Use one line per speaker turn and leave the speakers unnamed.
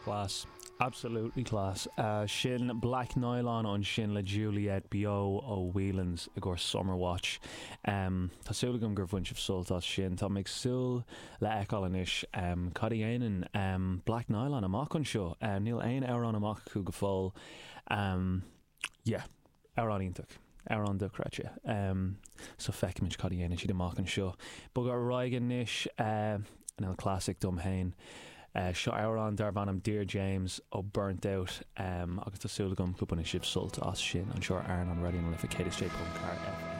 Class. Absolutely class. Sin Black Nylon ansin le Juliette beo ó Whelan's i gcomhair Summer Watch. Tá súil agam gur bhain sibh sult as sin. Tá mé ag súil le fheiceáil anois cad a dhéanann Black Nylon amach anseo. Níl aon amhrán amach acu go fóill. Yeah. Amhrán iontach. Amhrán dochreidte. So feicfimid cad a dhéanann siad amach anseo. Bogadh ar aghaidh anois, an classic dom féin. Seo amhrán darb ainm Dear James ó Burnt Out agus tá súil agam go mbainfidh sibh sult as sin anseo ar Airneán Raidió na Life 106.4 FM.